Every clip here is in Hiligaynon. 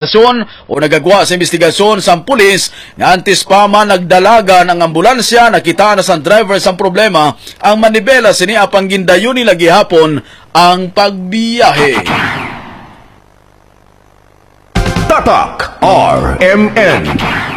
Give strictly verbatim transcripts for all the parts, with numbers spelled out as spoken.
Investigasyon o nagagwa sa investigasyon sang pulis nga antes pa man nagdalagan ang ambulansya, nakita na sang driver sang problema ang manibela sini, apang gindayon nila gihapon ang pagbiyahe. Tatak R M N.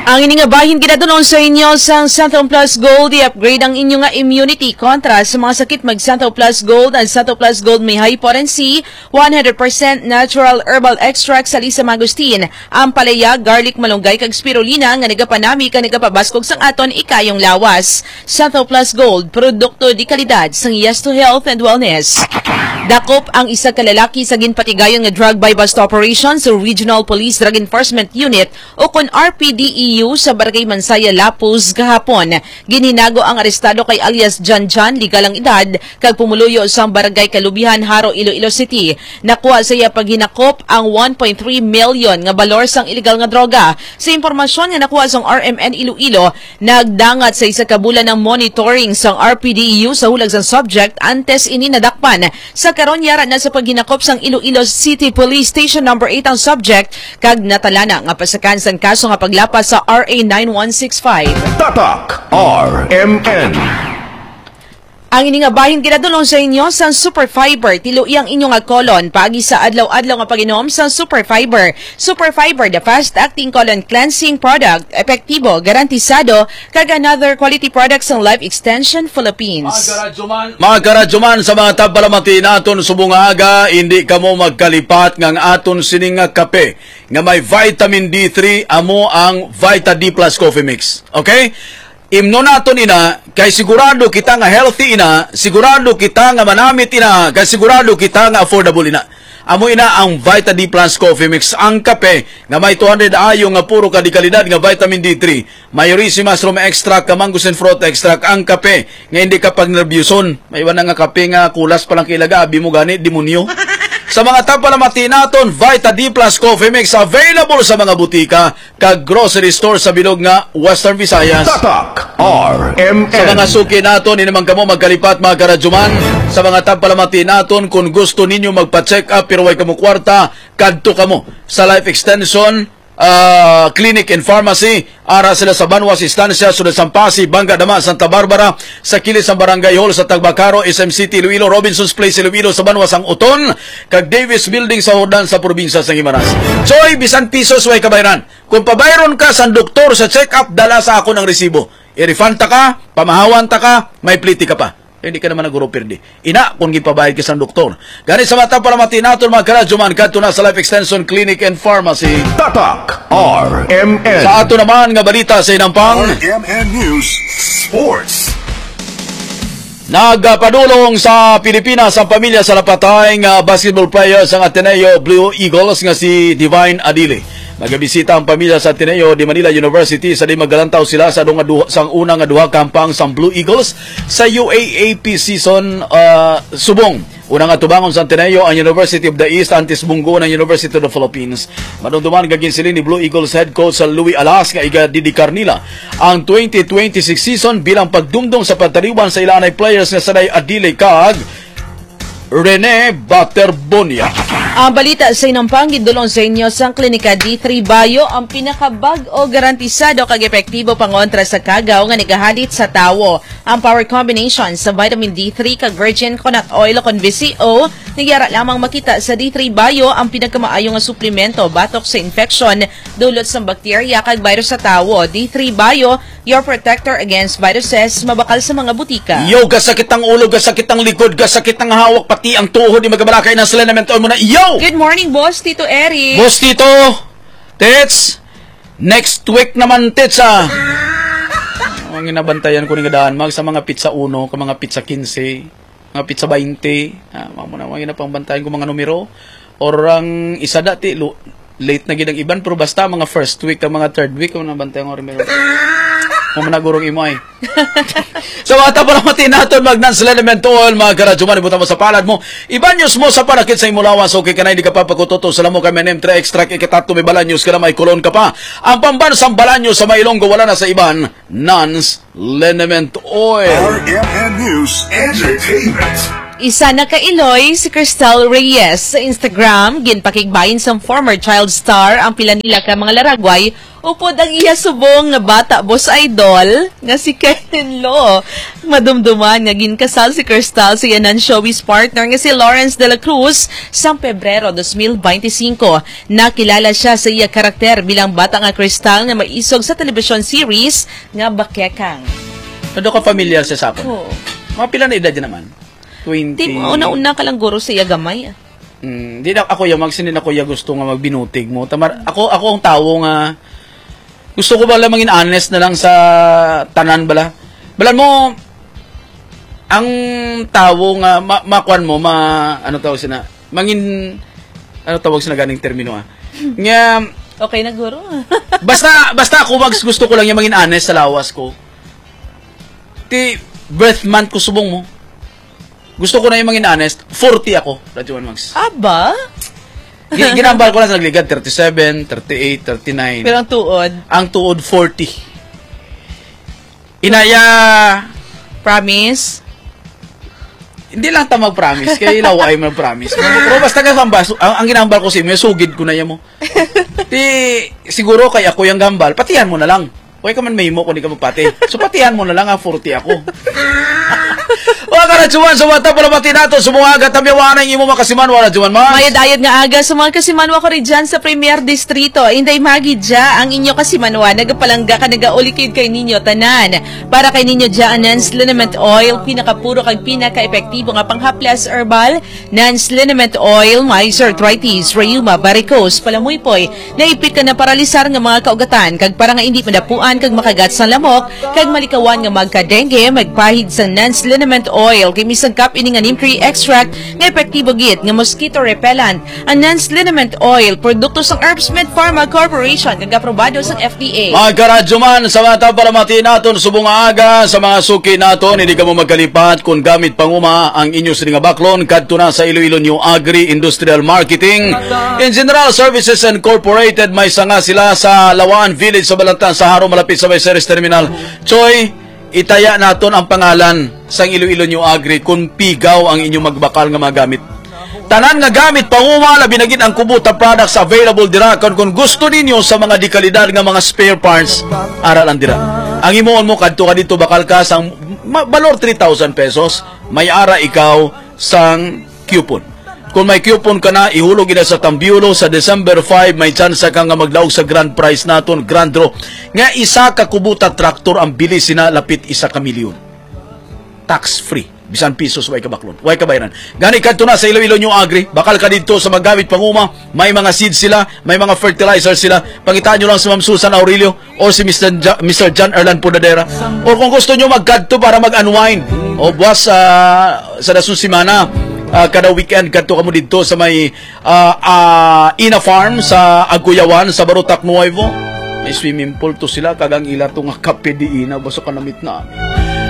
Ang ini nga bahin ginadulong sa inyo sang Santo Plus Gold. I-upgrade ang inyo nga immunity kontra sa mga sakit. Mag Santo Plus Gold. Ang Santo Plus Gold may high potency, one hundred percent natural herbal extract sa Lisa Mangosteen, ampalaya, garlic, malunggay, kag spirulina nga nagapanami kag nagapabaskog sang aton ikayong lawas. Santo Plus Gold, produkto di kalidad sang Yes to Health and Wellness. Dakop ang isa ka lalaki sa ginpatigayon nga drug buy-bust operation sa Regional Police Drug Enforcement Unit o kon R P D E U sa Barangay Mansaya, Lapuz, kahapon. Ginhinago ang arestado kay alias Jan Jan, legal ang edad, kag pumuluyo sang Barangay Kalubihan, Jaro, Iloilo City. Nakuha sa iya paghinakop ang one point three million nga balor sang iligal nga droga. Sa impormasyon nga nakuha sang R M N Iloilo, nagdangat sa isa ka bulan ang monitoring sang R P D E U sa hulag sang subject antes ini nadakpan. Sa karon, yara na sa paghinakop sang Iloilo City Police Station Number Eight ang subject, kag natalana nga pasakan sang kaso nga paglapas sa R A nine one six five. Tatak R M N. Ang ini nga bahin ginadulong sa inyo sang Super Fiber. Tiloi ang inyo nga colon paagi sa adlaw-adlaw nga pag-inom sang Super Fiber. Super Fiber, the fast-acting colon cleansing product, epektibo, garantisado, kag another quality product sang Life Extension Philippines. Mga karadyoman, mga karadyoman, sa mga tagpalamati naton subong nga aga, hindi kamo magkalipat nga ang aton sining nga kape nga may vitamin D three, amo ang Vita D plus Coffee Mix. Okay? Imnon naton ina, kay sigurado kita nga healthy ina, sigurado kita nga manamit ina, kay sigurado kita nga affordable ina. Amo ina ang Vita D plus Coffee Mix, ang kape nga may two hundred I U nga puro ka di kalidad nga vitamin D three. May ricin mushroom extract, ka mangosteen fruit extract, ang kape nga hindi ka pagnerbyuson. May iba na nga kape nga kulas pa lang kailaga, abi mo gani, demonyo. Sa mga tagpalamati naton, Vita D plus Coffee Mix available sa mga butika kag grocery store sa bilog nga Western Visayas. Tatak R M N. Sa mga suki naton, hindi man kamo magkalipat, mga karadyoman. Sa mga tagpalamati naton, kung gusto ninyo magpa-check up pero way kamo kwarta, kadto kamo sa Life Extension, ah, Clinic and Pharmacy. Ara sila sa Banwas Estancia, Sulod sang Passi, Bangga Dama, Santa Barbara, sa kilid sang Barangay Hall sa Tagbakaro, S M City, Iloilo, Robinsons Place, Iloilo, sa Banwas sang Uton, kag Davis Building sa Jordan sa probinsya sang Guimaras. Choy, bisan pisos way kabayran. Kung pabayron ka sang doktor sa check-up, dala sa akon ang resibo. I-refund ta ka, pamahawan ta ka, may pliti ka pa. Hindi ka naman naguro pirdi. Ina, kung gipabayad ka sang doktor. Gani sa mga tagpalamati naton, mga karadyoman, kadto na sa Life Extension Clinic and Pharmacy. Tatak R M N. Sa ato naman nga balita sa inampang. R M N News Sports. Nagpadulong sa Pilipinas ang pamilya sa napatay nga basketball player sang Ateneo Blue Eagles nga si Divine Adili. Nagabisita ang pamilya sa Ateneo de Manila University sa di magkalantaw sila sa, duha, sa una nga duha ka hampang sang Blue Eagles sa U A A P season, ah, subong. Unang atubangon sa Ateneo ang University of the East, antes bunggoon ang University of the Philippines. Madumduman nga ginsiling ni Blue Eagles head coach sa Louis Alas nga igadedikar nila ang twenty twenty-six season bilang pagdumdom sa pagtaliwan sa ila anay players nga sanay Adili kag Rene Baterbonia. Ang balita sa inampang gidulong sa inyo sang Klinika D three Bio, ang pinakabag-o, garantisado kag epektibo pangontra sa kagaw nga nagahalit sa tawo. Ang power combination sa vitamin D three kag virgin coconut oil o kon V C O, nagyara lamang makita sa D three Bio, ang pinakamaayo nga suplemento batok sa infeksyon dulot sang bakterya kag virus sa tawo. D three Bio, your protector against viruses, mabakal sa mga butika. Yo, gasakit ang ulo, gasakit ang likod, gasakit ang hawak, pati ang tuhod, di magabalakay na sila naman taon mo na. Yo! Good morning, Boss Tito Eric. Boss Tito, Tits, next week naman, Tits, ah. Ang ginabantayan ko ni nga daan, mag sa mga pizza uno, ka mga pizza quince, mga pizza bainte, ah, mga muna, mga ginapangbantayan ko mga numero. Or ang isa dati, lo-, late na gid ang iban, pero basta mga first week, ang mga third week, ang nabantayan ko numero. Mga managurong imo ay. Sa mga tagpalamati naton, mag Nans Liniment Oil, mga karadyoman, ibutang mo sa palad mo. Ibanyos mo sa panakit sa imo lawas, okay ka na, hindi ka papakutoto sa lamok, M and M three extract, ikatato may balanyos ka na, may kulon ka pa. Ang pambansang balanyos sa Mailonggo, wala na sa iban, Nans Liniment Oil. R M N News Entertainment. Isa na ka iloy si Cristal Reyes. Sa Instagram, ginpakigbahin sang former child star ang pila nila ka mga laragway upod ang iya subong nga bata, Boss Idol, nga si Kevin Lo. Madumduman nga ginkasal si Cristal sa iya non-showbiz partner nga si Lawrence de la Cruz sang Pebrero dos mil bente singko. Nakilala siya sa iya karakter bilang bata nga Cristal nga maisog sa television series nga Bakekang. Ano ka familiar siya sa akon? Oo. Mga pila na edad niya naman? Twenty. Di mo, una-una ka lang guro sa iya gamay, ah. Mm, di na ako ya, Mags, hindi na ako ya gusto nga magbinutig mo. Tamar, ako, ako ang tawo nga gusto ko bala mangin honest na lang sa tanan bala. Balan mo, ang tawo nga ma, makuan mo, ma, ano tawag sina, mangin, ano tawag sina ganing termino, ah? Nga, Okay na, guro. Basta, basta ako, Mags, gusto ko lang yung mangin honest sa lawas ko. Ti, birth month ko subong mo. Gusto ko na yung mangin honest, forty ako, Radyo One Mags. Aba? Gi-, ginambal ko lang sa nagligad, thirty-seven, thirty-eight, thirty-nine. Pero ang tuod? Ang tuod, forty. Inaya. Promise? Hindi lang ta mag-promise, kaya ilaw ay mag-promise. Pero basta ka kambas, ang, ang ginambal ko sa imo, sugid ko na yan mo. Ti, siguro kay ako yung gambal, patihan mo na lang. Way ka man mahimo kung di ka magpati. So, patihan mo na lang, ah, forty ako. Mga karadyoman, sa mga palamati nato, sa mga aga, tamyawan ang imo makasimanwa, Radyoman Mars. Mayad-ayad nga aga sa mga kasimanwa ko rin dyan sa Premier Distrito. Inday Magi dya, ang inyo kasimanwa, nagapalangga ka, nagaulikid kay ninyo tanan. Para kay ninyo dya, ang Nans Liniment Oil, pinakapuro kag pinaka-epektibo nga panghaplas herbal, Nans Liniment Oil, may arthritis, rheuma, varicose, palamuypoy, naipit ka na paralisar nga mga kaugatan, kag para nga hindi madapuan kag makagat sang lamok, kag malikawan nga magka-dengue, magpahid sa Nans Liniment Oil, kay misangkap ini nga neem tree extract nga epektibo gid nga mosquito repellent. Ang Nans Liniment Oil, produkto sang Herbstmed Pharma Corporation, kag aprobado sang F D A. Mga karadyoman, sa mga palamati naton subong nga aga, sa mga suki naton, hindi kamo magkalipat kung gamit panguma ang inyo sini nga baklon kadto na sa Iloilo New Agri Industrial Marketing and General Services Incorporated. May sanga sila sa Lawaan Village sa Balantan sa Jaro, malapit sa may Ceres Terminal. Choy, itaya naton ang pangalan sang Iloilo New Agri kung pigaw ang inyo magbakal nga mga gamit. Tanan nga gamit panguma, labi na gid ang Kubota products available dira. Kon, kon gusto ninyo sa mga dekalidad nga mga spare parts, ara lang dira. Ang himuon mo, kadto ka dito, bakal ka sang ma-, balor three thousand pesos, may ara ikaw sang coupon. Kung may coupon ka na, ihulog ina sa Tambiolo sa December five, may tsansa ka nga maglaog sa grand prize naton, grand draw, nga isa ka Kubota tractor ang bili sina lapit isa ka milyon. Tax free. Bisan pisos, way kabaklon, way kabayaran. Gani kadto na sa Iloilo New Agri, bakal ka didto sa magamit panguma, may mga seeds sila, may mga fertilizer sila. Pangitaan nyo lang si Ma'am Susan Aurelio or si Mister Ja-, Mister John Erlan Pudadera. Or kung gusto nyo magkadto para mag-unwind, o buwas, ah, sa dason semana, ah, kada weekend kadto kamo didto sa may ah, ah, Ina Farm sa Aguyawan, sa Barotac Nuevo. May swimming pool to sila, kag ang ila to nga kape diina, basta kanamit na.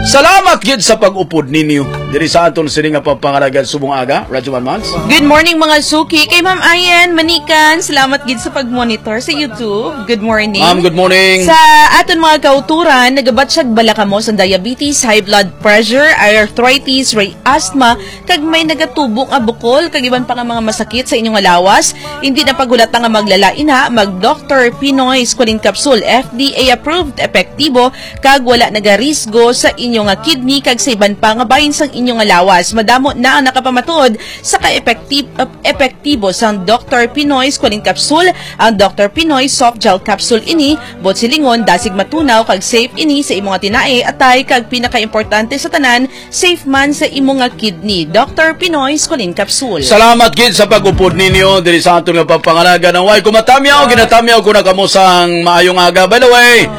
Salamat gid sa pag-upod ninyo diri sa aton sini nga pagpangalagan subong aga, Radyo Manmans. Good morning, mga suki. Kay Ma'am Ayan Manikan, salamat gid sa pag-monitor sa YouTube. Good morning. Ma'am, good morning. Sa aton mga kauturan, nagabatsyag bala kamo sa diabetes, high blood pressure, arthritis, ray asthma, kag may nagatubo nga bukol kag iban pa nga mga masakit sa inyo nga lawas, hindi na paghulata nga maglala ina, mag Doktor Pinoy Squalene Capsule, F D A approved, epektibo, kag wala nagarisgo sa inyo nga kidney kag sa iban pa nga bahin sang inyo nga lawas. Madamo na ang nakapamatud sa ka-epekti-, epektibo sang Doktor Pinoy Squalene Capsule, ang Doktor Pinoy Soft Gel Capsule ini, buot silingon, dasig matunaw kag safe ini sa imo nga tinae, atay, kag pinakaimportante sa tanan, safe man sa imo nga kidney. Doktor Pinoy Squalene Capsule. Salamat gid sa pag-upod ninyo diri sa aton nga pagpangalaga. Nang way ko matamyaw, ginatamyaw ko na kamo sang maayong aga. By the way,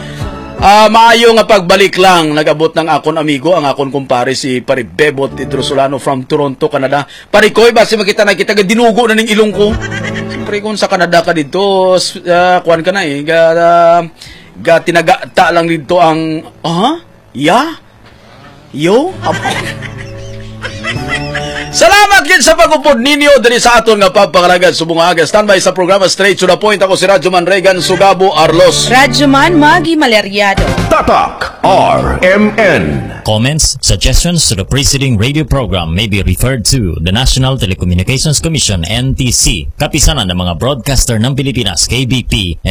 ah, maayo nga pagbalik lang. Nag-abot ng akon amigo, ang akon kumpare, si Pare Bebot Hidrosolano from Toronto, Canada. Pare Koy, basi makita na kita, dinugo na ning ilong ko. Siyempre, kung sa Canada ka dito, s-, ah, kuwan ka na eh, ga, ah, ga tinaga ta lang dito ang, ah? Ya? Yo? Salamat gid sa pag-upod ninyo diri sa aton nga pagpangalagan subong nga aga. Standby sa programa, straight to the point. Ako si Radyo Man Regan Sugabo Arlos. Radyo Man Maggie Maleriado. Tatak R M N. Comments, suggestions to the preceding radio program may be referred to the National Telecommunications Commission, N T C, Kapisanan ng mga Broadcaster ng Pilipinas, K B P,